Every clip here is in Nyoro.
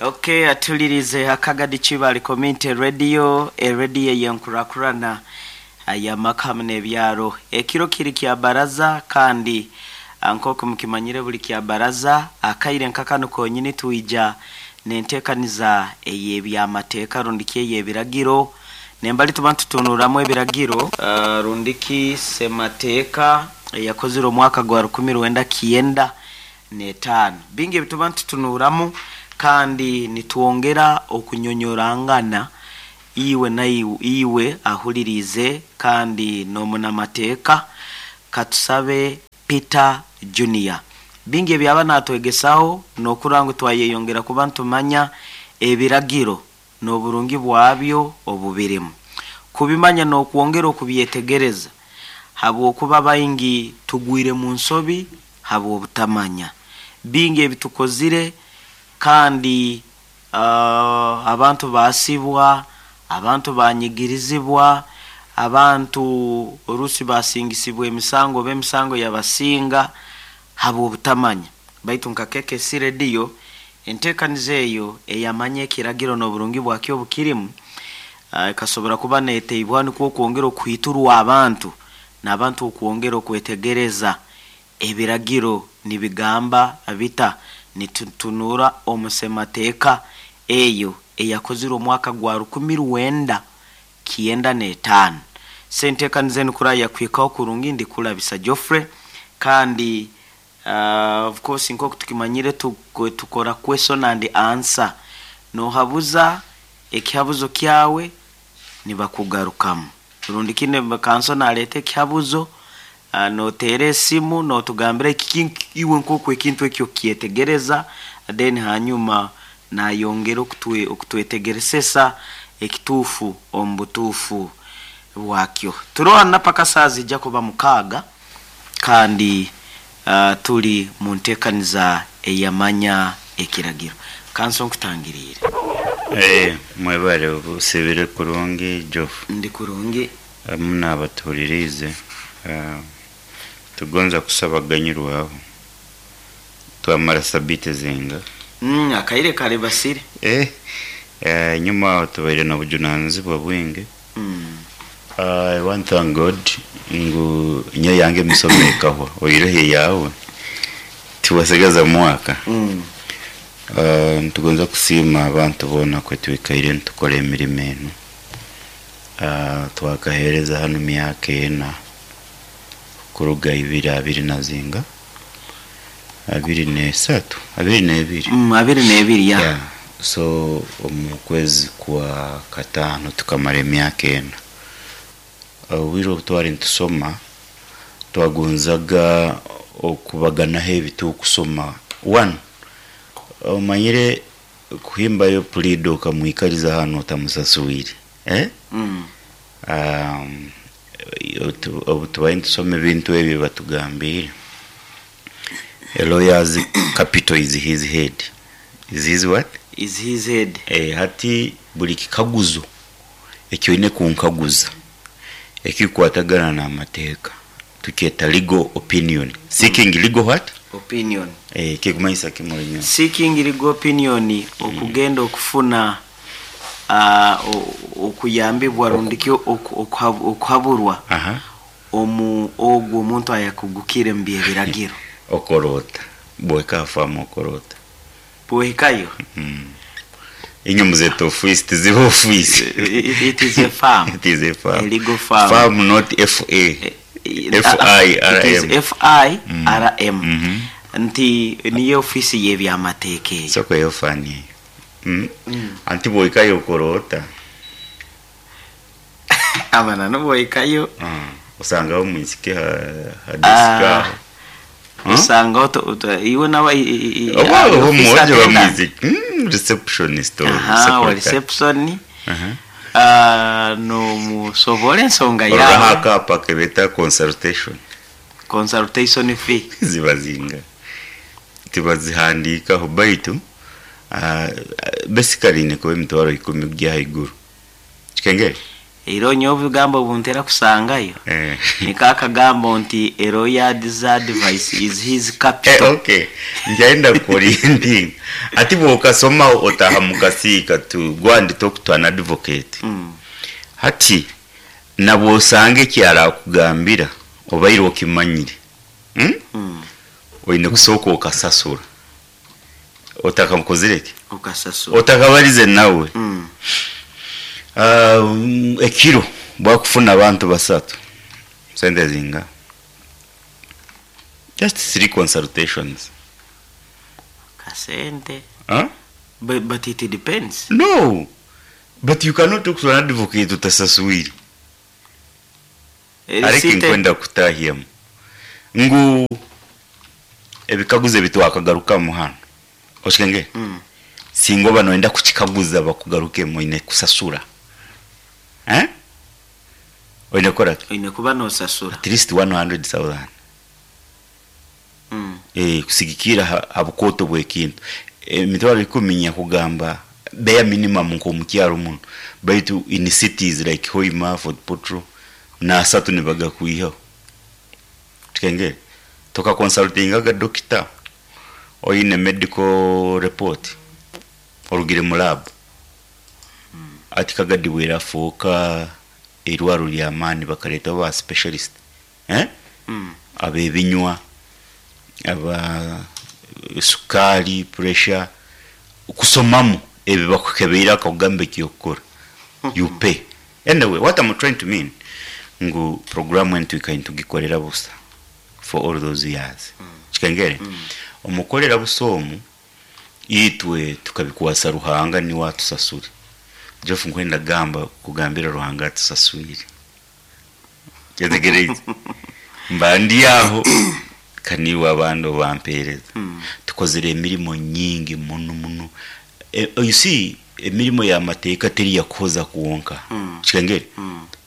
Okay, atulirize Akagadi Kibali Community Radio, erediyo eyenkurakurana ayamaka hamu n'ebyaro. Ekiro kiri kya baraza, kandi nk'oku mukimanyire buli kya baraza akaire nka kanu konyini twija n'enteekaniza ey'ebyamateeka rundiki ey'ebiragiro, nembali tuba nitutunuramu ebiragiro rundiki semateeka eyakozire omwaka gwa 1995. Bingi ebituba nitutunuramu kandi nitwongera okunyonyorangana iwe naiwe iwe ahuliriize kandi n'omunamateeka Katusabe Peter Junior. Bingi ebyaba natwegesaho n'okurora ngu twayeyongera kuba nitumanya ebiragiro n'oburungi bwabyo obubirimu. Kubimanya n'okwongera okubyetegereza habwokuba baingi tugwire mu nsobi habw'obutamanya. Bingi ebitukozire kandi abantu baasibwa, abantu banyigirizibwa, abantu orusi basingisibwa emisango oba emisango yabasinga habw'obutamanya. Baitu nka KKC Radio, enteekaniza eyo eyamanya ekiragiro n'oburungi bwakyo obukirimu, ekasobora kuba neeteibwaho nikwo okwongera okuhiiturwa abantu, n'abantu okwongera okwetegereza ebiragiro nibigamba bita. Nitutunura omu semateeka eyo eyakozirwe omwaka gwa 1995. Senteekaniza enu kuraba yakuhikaho kurungi, ndikulabisa Geoffrey, kandi of course nk'oku tukimanyire tukora question and answer. Nohabuza ekihabuzo kyawe nibakugarukamu. Rundi kinu kanso naleeta ekihabuzo, noteera esimu notugambira iwe nk'oku ekintu eki okukyetegereza, then hanyuma nayongera okutwetegeresesa ekituufu omu butuufu bwakyo. Turoho na paka saaha zijja kuba 6 kandi tuli mu nteekaniza eyamanya ekiragiro. Kanso nkutangiriire. Mwebale osibire kurungi Geoff. Ndi kurungi. Hamu n'abatuhuliriize, tugonza kusaba kuganyirwaho. Twamara sabiiti zinga? Akaire kalibasire. Enyuma aho tubaire n'obujunanizibwa bwingi. I want thank God ngu nyowe yange emisomo ekahwa, oihireho eyawe tiwasigaza mwaka. Nitugonza kusiima abantu boona kwe twikaire nitukora emirimo enu. Twakaheereza hanu myaka ena kuruga ibiri abiri na zinga? 23, 22. 22 ya. Yeah. So omu kwezi kwa kataano tukamara emyaka ena. Obwire obu twali nitusoma twagonzaga okubaganaho ebi turukusoma. One, omanyire kuhimbayo puliida okamwikaliza hanu otamusaswire, eh? Obu tubaire nitusoma ebintu ebi batugambiire, a lawyer's capital is his head. Is his what? Is his head. Hati buli kikaguzo eki oine kunkaguza ekikukwatagana n'amateeka tukyeta legal opinion. Seeking legal what? Opinion. Kikumanyisa ki Mulinyoro? Seeking legal opinion okugenda okufuna okuyambibwa rundi ki okuhaburwa omu ogu omuntu ayakugukire omu by'ebiragiro. Okora ota? Bwohika ha faamu okora ota? Bwohikayo? Inywe muzeeta ofiisi, tiziba ofiisi. It is a farm. It is a farm. A legal farm. Farm not F-A. It is F-I-R-M. F-I-R-M. Nti niyo ofiisi y'ebyamateeka eyo. Soko eyo fani eyo. Anti bwohikayo okora ota? Amananu bwohikayo. Osangaho omwisiki ha desk aho. Osangaho iwe nawe Oba office omwojo oba attendant. mwisiki. Receptionist or Aha, wa secretary. reception. Nomusoborra ensonga Ororaho yawe. akaapa kebeeta consultation. Consultation fee. Ziba zinga? Tibazihandiikaho baitu basically ine kuba emitwaro ikumi kugya haiguru. Kikengere? Era nyowe obugambo obuntera kusangayo niko akagambo nti a lawyer's advice is his capital. Okay, njaenda kuorienting ati bwokasoma otaha mukasiika to go and talk to an advocate. Hati nabwosanga ekyarakugambira obaire okimanyire, Oine kusooka okasasura otakamukozire ki? Okasasura. Otakabarize nawe. Ekiro bwakufuna abantu basatu sente zinga, just three consultations. Kasente. Huh? But it depends. No, but you cannot talk to an advocate utasasuire. Ariko nkwenda kutahiyamu ngu ebikaguzo ebitwakagarukamu hano okikenge. Singa oba noyenda kukikaguza bakugarukemu, oine kusasura, eh? Oine kukora ki? Oine kuba nosasura. At least 100,000. Kusigikira ha bukoto bw'ekintu, emitwaro 10 nyakugamba bare minimum nk'omukyaro muno, baitu in cities like Hoima, Fort Portal, nasatu nibagakwihaho. Tukengere tokaconsultingaga dokita oine medical report orugire mu lab. Ati Kagadi bwerafuuka irwaro ly'amaani, bakaletaho ba specialist, eh? Abebinywa, aba sukari, pressure, kusomamu ebi bakukebeire akakugamba ekyokukora, you pay. Anyway, what I'm trying to mean ngu programu enu twikaire nitugikorera busa for all those years. Kikengere omukolera busa omu itwe tukabikwasa Ruhanga niwe atusasure. Jeff, nkwenda gamba kugambira Ruhanga atusaswire. Kyetegereze mba ndi aho kaniwe abandi obampereza. Tukozere emirimo nyingi muno muno. You see, emirimo y'amateeka teri yakuhoza kwonka. Kikengere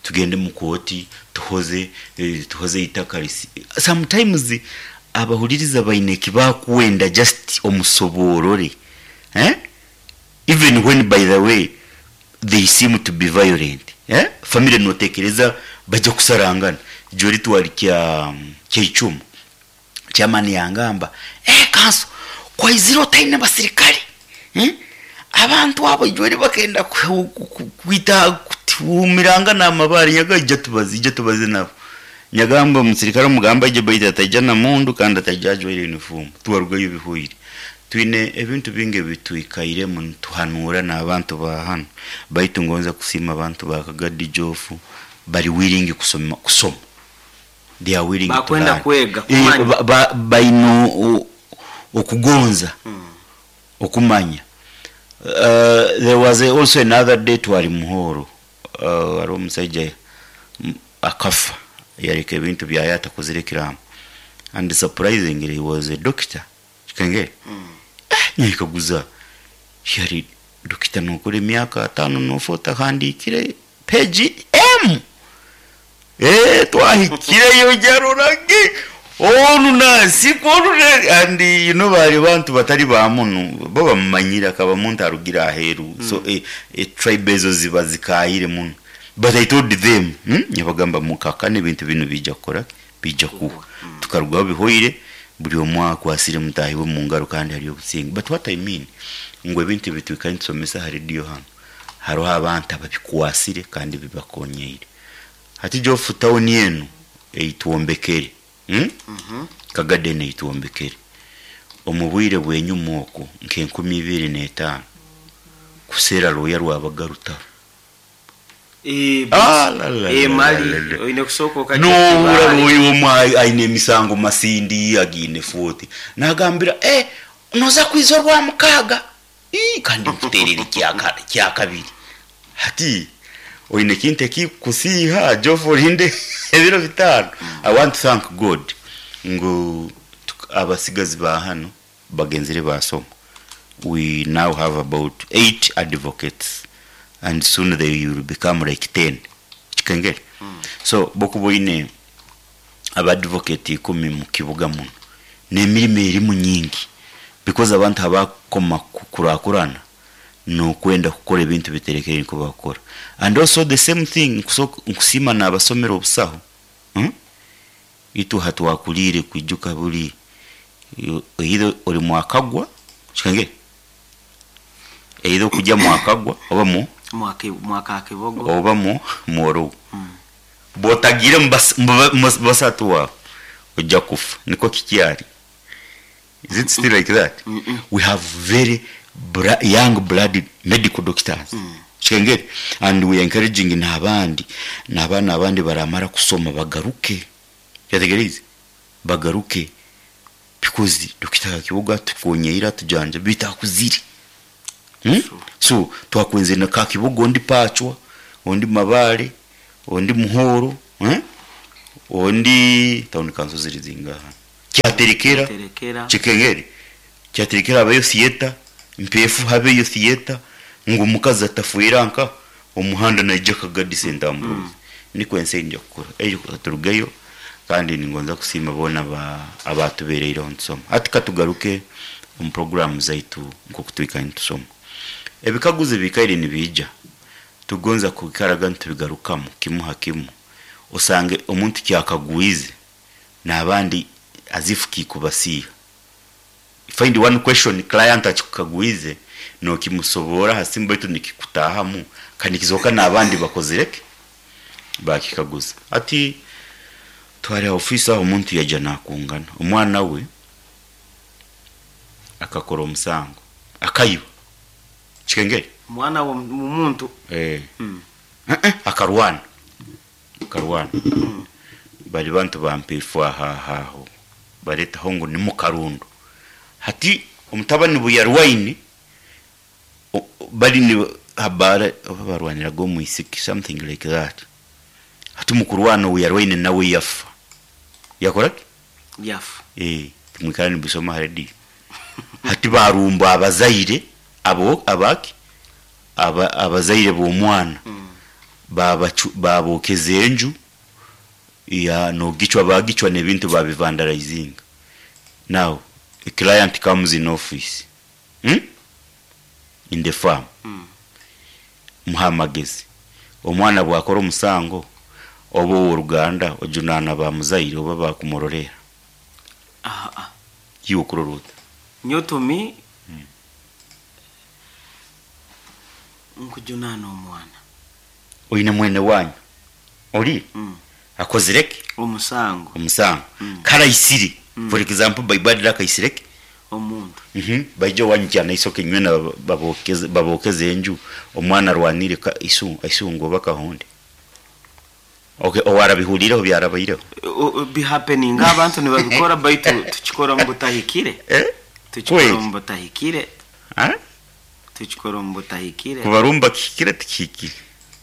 tugende mu kooti tuhoze, tuhoze itaka risi. Sometimes abahuliriza baine ekibakwenda just omusoborore, eh? Even when, by the way, they seem to be violent, eh? Family notekereza bajja kusarangana. Jori twali kya kyeicumu, chairman yangamba, kanso kwaizire otaine basirikale, eh? Abantu abo ijweri bakenda kwita kutumiranga n'amabaare. Nyaga ijja tubaze, ijja tubaze nabo. Nyagamba omusirikale omugamba ije, baitu ataija na mundu kandi ataija ajwaire uniform. Twarugayo bihwire. Twine ebintu bingi ebitwikairemu nituhanura n'abantu ba hano, baitu ngonza kusiima abantu ba Kagadi Jofu, bari willing kusoma, kusoma. They are willing to Bakwenda learn. kwega, kumanya. Baine okugonza okumanya. There was also another day twali Muhoro, hariho omusajja akafa yareka ebintu byaye atakozire ekiraamo, and surprisingly he was a doctor. Kikengere nyekaguza, yari dokita nokora emyaka 5 nofa otahandikire page m. Twahikireyo jarorage onu nasiko onu and you know bari bantu batari ba muno bo bamumanyira akaba muntu arugira aheru. So tribe ezo ziba zikayire muno, but I told them, Nyabagamba mukakane ebintu bino bijja kukora, bijja kuba. Tukarugaho bihoire, buri omwe akwasire mutahi we mu ngaro kandi hariyo obusinge. But what I mean ngu ebintu ebitwikaire nitusomesa ha radio hano, hariho abantu ababikwasire kandi bibakonyeire. Hati Jofu, tawuni enu eitwombekere, Kagadi enu eitwombekere omu bwire bwenyuma okwo nka 2005 kuseera looya rwabaga rutaro. Ah, la, la, la, mali la, la. Oine kusooka okajja Nohura kibaale. looya omwe aine emisango Masindi agiine 40, nagambira, noza kwiza orwa mukaaga. Ii, kandi nkuterera kyakabiri. Hati oine kintu ekikusiiha Jofu, orinde ebiro 5. I want to thank God ngu abasigazi ba hano bagenzire basoma. We now have about 8 advocates and soon they will become like 10. Kikengere so bokuba oine abadvocate 10 mu kibuga muno n'emirimo erimu nyingi, because abantu abakoma kukurakurana. Nokwenda kukora ebintu biterekere niko bakukora. And also the same thing, nkusima n'abasomera obusaho, Itwe hatwakuliire kwijuka buri either ori mwakagwa kikangire either okujya mwakagwa oba mu Mwaka kibogo oba mu mworogo. Bwotagire mu basatu wawe ojja kufa, niko kikyari. Is it still like that? We have very young blooded medical doctors. Kikengere, and we are encouraging n'abandi n'abaana abandi baramara kusoma bagaruke. Kyategereze bagaruke, because Dokita Kibogo tukonyeira tujanja bitakuziri. So twakwenze na Kakibogo, ondi Pachwa, ondi Mabale, ondi Muhoro, Ondi town council ziri zingaha? Kyaterekera. Terekera. Kikengere, kyaterekera habeyo theater, Mpefu habeyo theater, ngu omukazi atafuira nka omuhanda naija Kagadi St Ambrose. Niko ensi nja kukora ejo turugeyo, kandi ningonza kusiima boona abatubereireho nitusoma. Hati katugaruke omu programu zaitu nkoku twikaire nitusoma. Ebikaguzo bikaire nibiija, tugonza kwikaraga nitubigarukamu kimu ha kimu, osange omuntu kyakagwize n'abandi azifu kikubasiiha. Find one question client akikukagwize nokimusobora hasimu, baitu nikikutahamu kandi kizoka n'abandi bakozireke bakikaguza. Ati twari ofisi aho, omuntu yaja nakungana omwana we akakora omusango, akayiba. Kikengere. Mwana wo muntu? Eh. Akarwana, akarwana. Bali bantu bampefu ahaho baretaho ngu ni mukarundo. Hati omutabani buyarwaine bali ni habara oba barwaniraga omwisiki, something like that. Hati mukurwana uyarwaine nawe yafa, yakoraki? Yafa. Eh, timwikara nibusoma ha radio. Hati barumba abazaire abo abaki abazaire b'omwana, babokeza enju ya nogicwa, bagicwa n'ebintu babivandalizinga. Now a client comes in office, In the farm. Muha amagezi, omwana bwakora omusango oba ow'oruganda ojunaana bamuzaire oba bakumurorera? Aha. Iwe okurora ota? Nyotumi nkujunana omwana. Oine mwene wanyu ori akozireke omusango. Omusango karaisire, for example, baibadira akaisireke omuntu. Baija wanyu kyana isoke nywena babokeze babokeze enju, omwana arwanire ka isu isungo oba kahonde. Okay, owarabihulireho byarabaireho? Bihappening, abantu nibabikora, baitu tukikora mu butahikire. Eh? Tukikora Kweli? mu butahikire. Ah? Tukikora mu butahikire. Kubarumba kihikire, tikihikire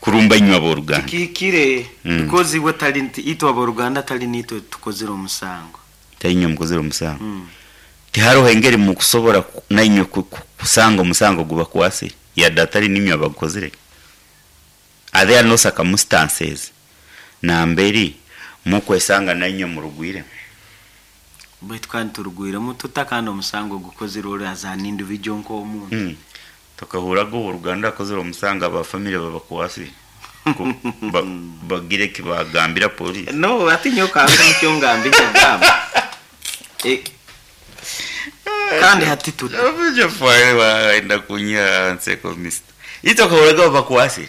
kurumba inywe ab'oruganda? Tikihikire, because iwe tali itwe aboruganda tali nitwe tukozire omusango. Tainywe mukozere omusango. Tihariho engeri mukusobora nainywe kusanga omusango gubakwasire yadde atali ninywe abagukozire? Are there no circumstances namberi mukwesanga nainywe murugwire? Baitu kandi turugwiremu tuta kandi omusango gukozire ori as an individual nk'omuntu? Tukahuraga oruganda akozere omusango, abafamire babakwasire, bagire kibagambira polisi. No, ati nyoka nikyo ngambire ngamba. Kandi hati tuta waenda kunya nseko mister, itokahuraga babakwasire.